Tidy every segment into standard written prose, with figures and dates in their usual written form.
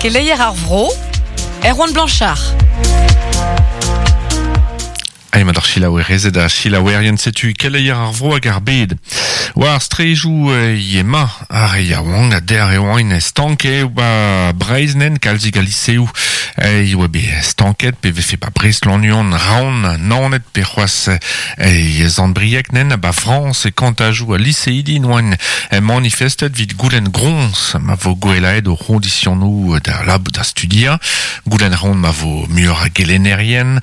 Keleier ar vro, Erwan Blanchard. Emañ d'ar selaouerezed ha selaouerien setu keleier ar vro hag ar bed. War ar straejoù emañ ar re yaouank ha dec'h e oant stank eo ba Breizh nen kalzik a liseoù e oa bet stanket pe vefe ba Brest Lannuon Raon Naoned pe c'hoazh e Sant-Brieg nen ba Frañs e kantajoù a liseidi n'oant manifestet evit goulenn groñs ma vo gwellaet o c'hoñdisionoù da lab da studiañ Goulenn a reont ma vo muioc'h a gelennerien,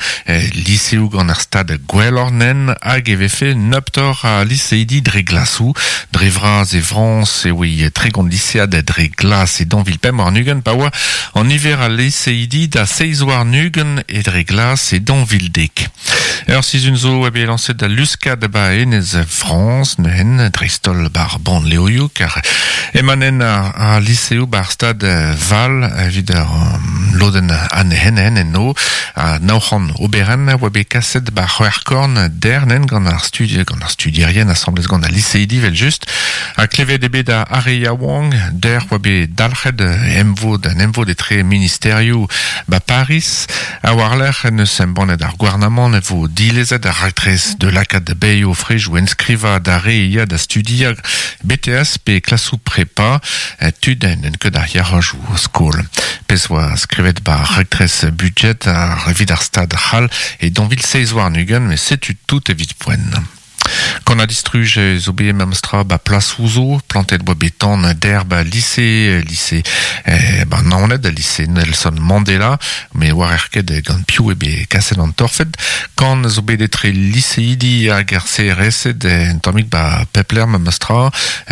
liseoù gant ar stad gwelloc'h nen hag e vefe nebeutoc'h a liseidi dre glasoù. Dre vras e Frañs e oe 30 lisead dre glas e 2025 pa oa an niver a liseidi da 27 e dre glas e 2010. Ur sizhun zo oa bet lañset al luskad ba enez Frañs neuzen dreist-holl bar bannleoioù kar emañ ar liseoù bar stad Val evit ar lodenn anezhen eno ha 900 oberenn a oa bet kaset bar c'hwec'hkorn dernen gant ar studi gant ar studierien asambles gant al liseidi evel-just ha klevet eo bet ar re yaouank dec'h oa bet dalc'het emvod un emvod etre ministerioù ba Pariz Ha war-lerc'h en deus embannet ar gouarnamant e vo dilezet ar raktres da lakaat da baeañ o frejoù enskrivañ d'ar re ya da studiañ BTS pe klasoù prepa tud n'ent ket ar yac'hajoù skol. Pezh oa skrivet 'ba ar raktres budjed evit ar Stad c'hall e 2027 met setu tout evit poent. Gant an distruj zo bet memestra 'ba plasoù zo, plantet 'oa bet tan der 'ba lise, lise 'ba Naoned, lise Nelson Mandela, met 'oarer ket gant piv eo bet kaset an torfed. Kann zo bet etre liseidi hag ar CRS-ed un tammig 'ba pep lec'h memestra,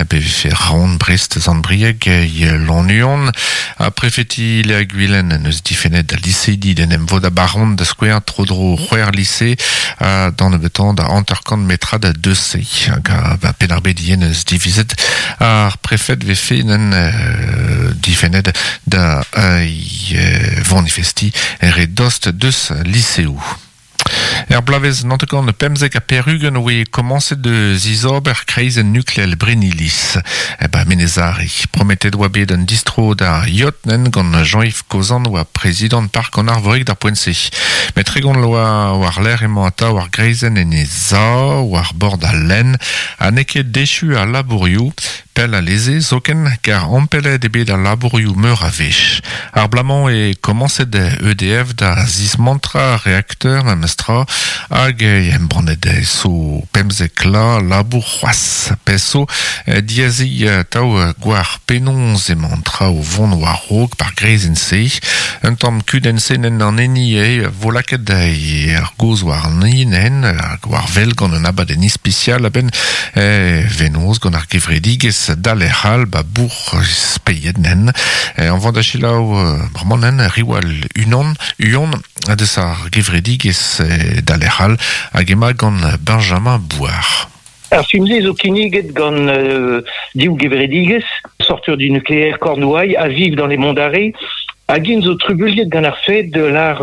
pe vefe Raon, Brest, Sant-Brieg, Lannuon. Ha prefeti Le-ha-Gwilen en deus difennet al liseidi d'en em vodañ 'ba Raon da skouer tro-dro c'hwec'h lise ha d'an nebeutañ da 50 metrad deus se. Hag a Penn-ar-Bed ivez neus divizet ar prefed vefe nen difennet da vanifestiñ re dost deus liseoù. Er bloavezh 1995 oe komañset da zizober kreizenn nukleel Brenniliz ba Menez-Are. Prometet oa bet un distro da Yotnen gant Jean-Yves Kozan oa prezidant Park an Arvorig d'ar poent-se. Met 30 vloaz war-lerc'h emañ atav ar greizenn en he sav war bord al lenn ha n'eo ket echu al labourioù. Pell alese zoken, kar ampellet eo bet al labourioù meur a wech. Ar bloaz-mañ eo komañset EDF da zismantrañ ar reakteur memestra hag embannet zo 15 la labour c'hoazh. Pezh zo diazeñ atav gwar penaos emañ an traoù o vont war-raok bar greizenn-se. Un tamm kudenn-senenn an hini eo vo lakaet ar gaoz warni nen hag war wel gant un abadenn ispisial a-benn venoz gant ar gevredigezh Dalec'h all ba bourc'h Speied nen. An vont da selaou bremañ nen Riwal unan uon deus ar gevredigezh Dalec'h all hag emañ gant Benjamin Bouard. Ar film-se zo kinniget gant div gevredigezh, Sortir du nucléaire Cornouailles ha Vive dans les Monts d'Arrée, hag int zo trubuilhet gant ar fed de lar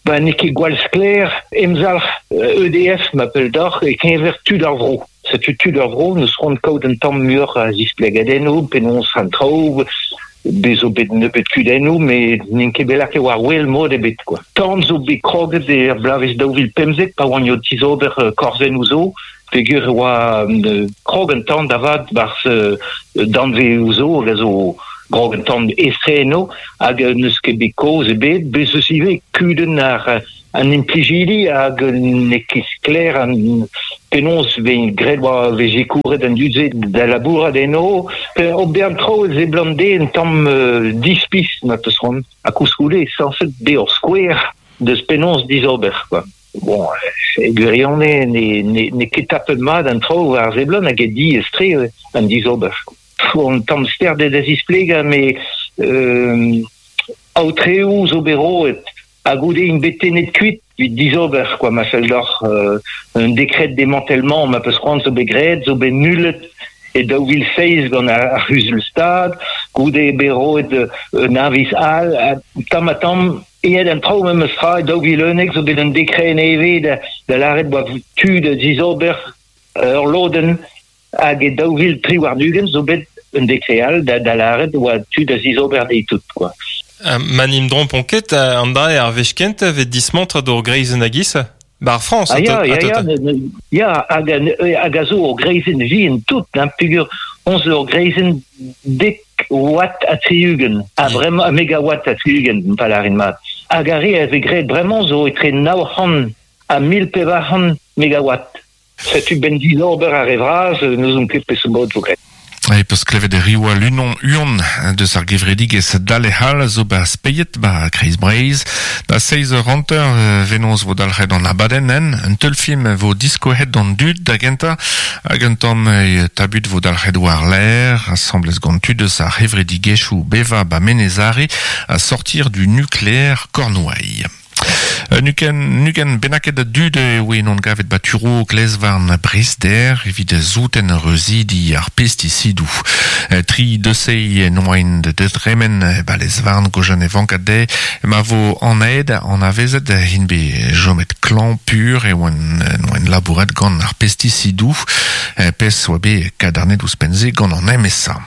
ba n'eo ket gwall sklaer emzalc'h EDF ma pell deoc'h e-keñver tud ar vro. Setu tud ar vro n'eus c'hoant kaout un tamm muioc'h a zisplegadennoù penaos an traoù bez zo bet nebeut kudennoù met n'int ket bet lakaet war wel mod ebet quoi. Tan zo bet kroget er bloavezh 2015 pa oan o tizober korzennoù zo peogwir e oa krog an tan da vat 'barzh danvezoù zo hag a zo grog an tan estre eno hag n'eus ket bet kaoz ebet bez eus ivez kudenn ar an implijidi hag n'eo ket sklaer an penaos vez graet war vez sikouret an dud-se da labourat eno ober an traoù e seblant dezhe un tamm dispis ma 'peus c'hoant ha koulskoude sañset bezañ ur skouer deus penaos dizober quoi. Bon, e gwirionez n'eo ket tapet mat an traoù war seblant hag eo diaes-tre an dizober. Un tamm sterdet da zisplegañ met aotreoù zo bet roet ha goude int bet tennet kuit evit dizober quoi ma fell deoc'h un dekred démantèlement ma peus c'hoant zo bet graet zo bet nullet e 2007 gant ar c'huzul-stad goude eo bet roet un aviz all tamm ha tamm aet an traoù memes tra e 2011 zo bet un dekred nevez da lâret 'oa tu da zizober ur lodenn hag e 2023 zo bet un dekred all da lâret 'oa tu da zizober dezhe tout quoi. Ma nim drompon ket, an dra ar wech kentañ 'vez dismantret ur greizenn a-giz 'ba ar Frañs Ah ya, ya, ya, ya, hag, hag a zo ur greizenn vihan tout, hein, peogwir on zo ur greizenn dek watt ha 60, ha bremañ megawatt ha 60, pa lârin mat. Hag ar re a vez graet bremañ zo etre 900 ha 1400 megawatt. Setu 'benn dizober ar re vras, n'ouzon ket peseurt mod 'vo graet. E peus klevet Riwal Unon Huon deus ar gevredigezh Dale-Hall zo ba Speied ba Kreiz Breizh. Da seizh eur hanter venoz vo dalc'het an abadenn en. Un teulfilm vo diskouezhet d'an dud da gentañ hag un tamm tabut vo dalc'het war-lerc'h asambles gant tud eus ar c'hevredigezhioù bevañ ba Menez Are ha sortir du nucléaire Cornouailles. Un ugent bennaket a dud e oe en gavet ba Turo Glezvarn Brest-Der evit souten reuzidi ar pestisidoù. Tri deusei en oaint da dremen ba lez-varn gojan e vanka dezhe ma vo anaet anavezet int bet chomet klañv pur e oant labouret gant ar pestisidoù pezh oa bet kadarnet ouzhpenn-se gant an MSA.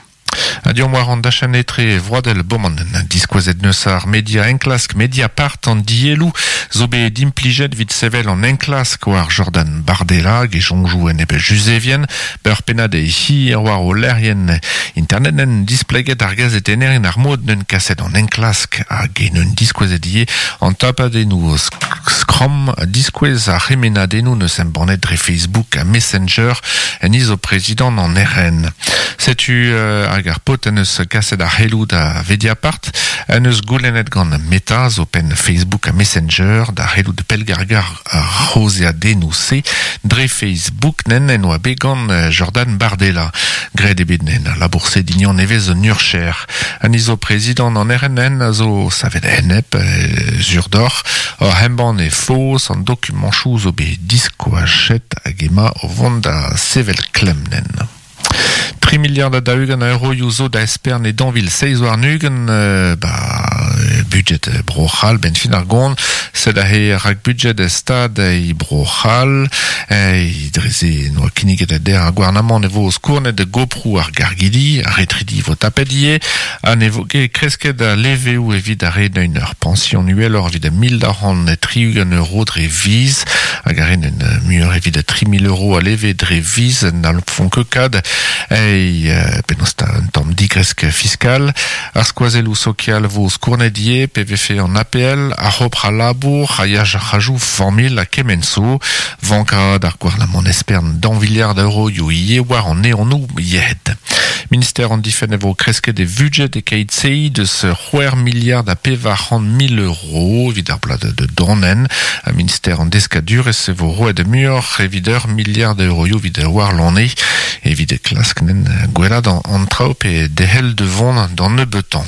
Ha deomp war an dachenn etre vroadel boman diskouezet neus ar media enklask Mediapart an dielloù zo bet implijet evit sevel an enklask war Jordan Bardella hag e soñjoù enep Juzevien ur pennad hir war o lec'hienn internet en displeget ar gazetennerien ar mod neun kaset an enklask hag en un diskouezet ivez an tapadennoù skramm diskouez ar c'hemennadennoù neus embannet dre Facebook ha Messenger en izo prezidant an RN. Setu hag ar paotr en deus kaset ar c'heloù da Vediapart en deus goulennet gant Meta, zo penn Facebook ha Messenger, da c'hellout pellgargañ ar c'haozeadennoù-se dre Facebook nen en oa bet gant Jordan Bardella. Graet eo bet nen al labour-se dignon nevez un urcher. An izo prezidant an RNN a zo savet enep sur deoc'h oc'h embann e faos an dokumanchoù zo bet diskoachet hag ema o vont da sevel klemm nen. Tri miliard ha daou-ugent a euroioù zo da espern e 2027 ba budget Bro-C'hall 'benn fin ar gont. Sed aze rak-budget Stad e Bro-C'hall. Dre-se n'oa kinniget der ar gouarnamant e vo skournet goproù ar gargidi, ar retridi vo tapet ivez, ha ne vo ket kresket al leveoù evit ar re neuint ur pañsion uheloc'h evit 1260 euro dre viz, hag ar re neuint muioc'h evit 3000 euro a leve dre viz n'hallfont ket kad ei penaos 'ta un tamm digresk fiskal. Ar skoazelloù sokial vo skournet ivez pe vefe an APL, ar c'hopr al labour, a ya ar c'hajoù familh ha kement zo. Vankaat ar gouarnamant espern daou viliard a euroioù ivez war an eonoù yec'hed. Minister an difenn e vo kresket e vudjed e-keit-se deus c'hwec'h miliard ha 400 mil euro evit ar bloaz da donenn. Ha minister an deskadurezh e vo roet muioc'h evit ur miliard a euroioù evit warlene evit klask nen gwellaat an traoù pe derc'hel da vont d'an nebeutañ.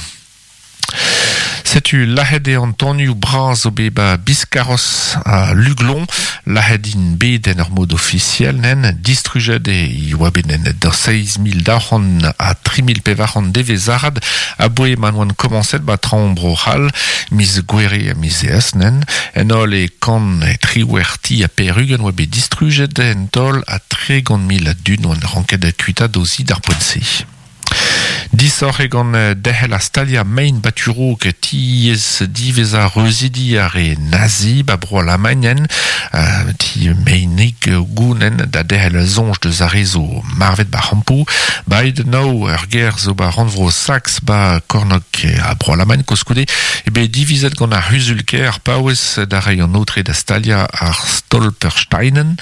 Setu lazhet eo an tanioù bras zo bet ba Biscarrosse ha Luglon. Lazhet int bet en ur mod ofisiel nen. Distrujet e oa bet nen da 7200 ha 3400 devezh-arat aboe ma oant komañset ba traoñ Bro-C'hall miz Gouere ha miz Eas nen. En holl e kant triwec'h ti ha pevar-ugent oa bet distrujet en taol ha 30 000 a dud oant ranket kuitaat o zi d'ar poent-se. Disoc'h eo gant derc'hel ar staliañ mein baturok tiez diwezhañ reuzidi ar re nazi ba bro Alamagn ti meinig gounen da derc'hel soñj deus ar re zo marvet ba c'hampoù. Ba Heidenau ur gêr zo ba rannvro Saks ba kornôg a bro Alamagn koulskoude eo bet divizet gant ar c'huzul-kêr paouez da reiñ an aotre da staliañ ar Stolpersteinen.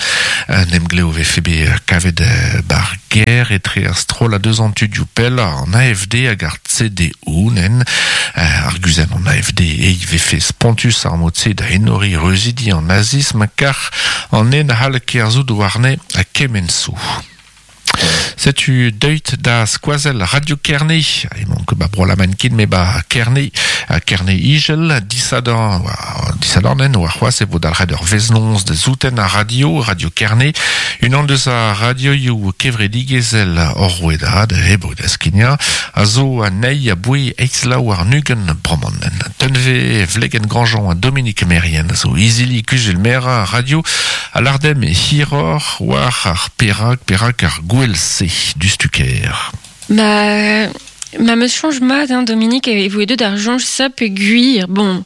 Un emglev vefe bet kavet bar gêr etre ar strollad eus an tudioù pellañ an AFD hag ar CDU nen. Ar guzenn an AFD e vefe spontus ar mod-se da enoriñ reuzidi an nazism kar an nen a c'hall kerzhout warne ha kement zo. Setu deuit da skoazell Radio Kerne, emaon ket ba Bro-Alamagn ket met ba Kerne, Kerne Igel, disadorn, disadorn en warc'hoazh e vo dalc'het ur veznoz da souten ar radio, Radio Kerne, unan deus ar radioioù kevredigezhel hor rouedad, hep da skignañ, a zo anezhi aboe eizh laou warn-ugent bremañ. Tunve Vlegen Grandjean ha Dominique Merien a zo izili kuzul-merañ ar radio a lâr demp hiroc'h war ar perak, perak ar gouel-se diouzhtu-kaer. Ma Ma meus change mat, hein, Dominique, e voe deut ar jonj sa pe gwir. Bon,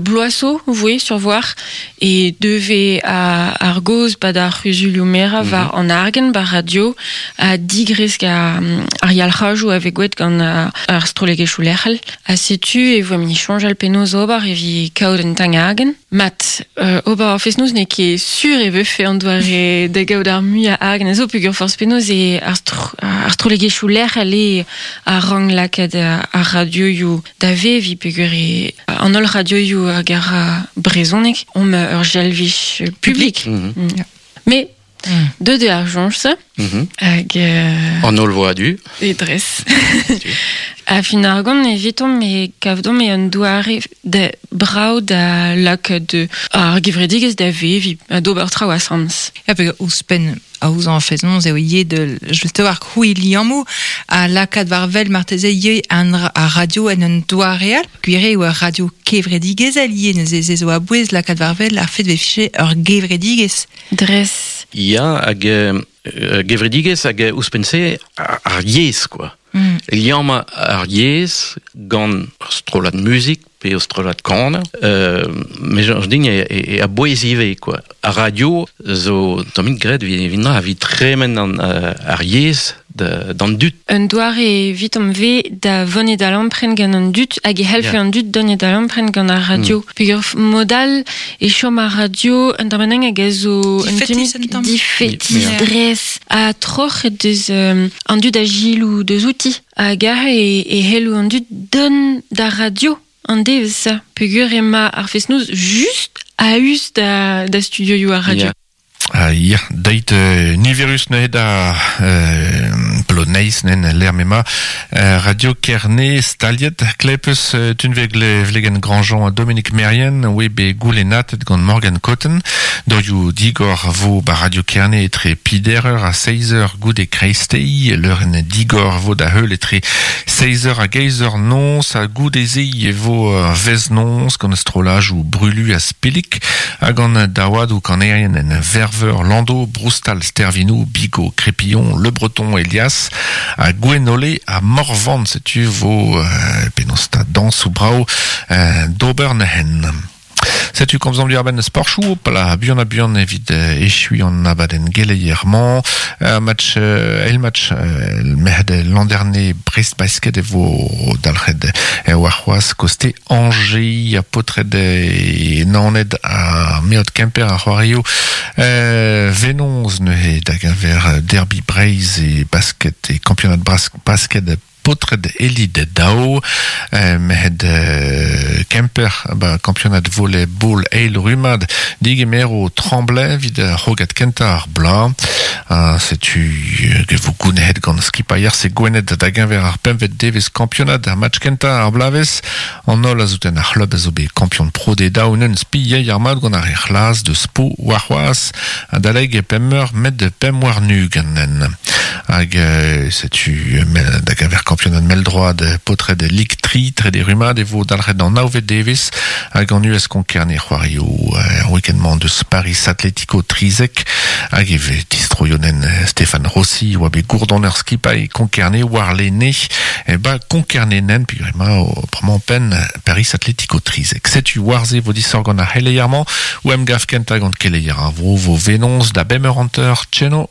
bloaso, voe sur voir, e deve a, ar goz pa da c'huzulioù mera war an argen bar radio a digresk a, ar yalc'hajou a ve gwet gant ar strollegezhioù lec'hel. Ha setu e voe mini chanjal penaos ober evi kaout un tang argen. Mat, ober ar fest-noz n'eo ket sur e vefe an doare da gaout ar muiañ argen a zo peogwir forzh penaos e ar, ar strollegezhioù lec'hel eo a rank lakaat ar radioioù da veviñ peogwir e an holl radioioù hag ar brezhoneg omp ur jalvich publik. Mais deut eo ar soñj-se hag An holl vo a-du. E dres. A fin ar gont evitomp e kavdomp e un doare da brav da lakaat ar gevredigezh da veviñ ha d'ober traoù asambles. Ya, pe ouzhpenn aozañ ar fest-noz eo ivez de just war krouiñ liammoù ha lakaat war wel marteze ivez an ar radio en un doare all. Gwir eo ur radio kevredigezhel ivez neuze se zo a-bouez lakaat war wel ar fed 'vefe ur gevredigezh. Dres. Ya, hag gevredigezh hag ouzhpenn-se ar yezh, quoi. Liammañ ar yezh gant ur strollad muzik pe ur strollad kaner, me soñj din e, e, e a-bouez ivez, quoi. Ar radio zo tammig graet evit evit tremen an, ar yezh d'an dud. Un doare evitomp ve da vonet da lampren gant an dud hag e c'hellfe an dud donet da lampren gant ar radio. Peogwir mod all e chom ar radio un tamm hag a zo un tamm difetis dres ha troc'het deus an dud a gilou deus outi hag aze e, e c'hello an dud dont d'ar radio an devezh peogwir ema ar fest-noz just a-us da, da studioioù ar radio. Ah, ya, deit niverus neuze da Ploneiz nen lec'h m'ema Radio Kerne staliet klepus tunveg vlegen Grandjean ha Dominique Merien oe bet goulennatet gant Morgan Cotten dorioù digor vo ba Radio Kerne etre pider eur ha seiz eur goude kreisteiz leurenn digor vo da heul etre seiz eur hag eizh eur noz ha goude-se e vo vez-noz gant strollajoù Brulu ha Spillik hag an daouadoù kanerien en Verveur, Lando, Broustal, Stervinou, Bigot, Crépillon, Le Breton, Elias ha Gwenole ha Morvan setu vo penaos 'ta dañsoù brav d'ober neuzen. Setu komzomp diwar-benn sporchoù, hopala, buan ha buan evit echuiñ an abadenn geleier-mañ. Match, eil match merc'hed Landerne Brest Basket e vo dalc'het warc'hoazh koste Angers ha paotred Naoned ha Meot Kemper a c'hoario Venoz neuze da geñver derby Breizh e basket e kampionad basket paotred Elite daou merc'hed Kemper ba kampionad volley-ball eil rummad digemero Tremblay evit ar c'hrogad kentañ ar bloaz. Ha setu e vo gounezet gant skipailh RC Gwened da geñver ar pempvet devezh kampionad ar match kentañ ar bloavezh. An holl a zouten ar c'hlub a zo bet kampion pro de daou neun spi yey ar mat gant ar re c'hlas deus Po warc'hoazh adalek pemp eur met pemp warn-ugent. Hag setu da geñver kampionad mell-droad paotred Lig 3 trede rummad e vo dalc'het an navet devezh hag an US Konk-Kerne c'hoario er week-end-mañ deus Paris Atletico 13 hag e vez distroionen Stéphane Rossi oa bet gourdoner skipailh Konk-Kerne warlene e ba Konk-Kerne-nen peogwir emañ o bremañ penn Paris Atletico 13. Setu war-se vo disoc'h gant ar c'heleier-mañ o emgav kentañ gant keleier ar vro vo Venoz da bemp eur hanter tcheno.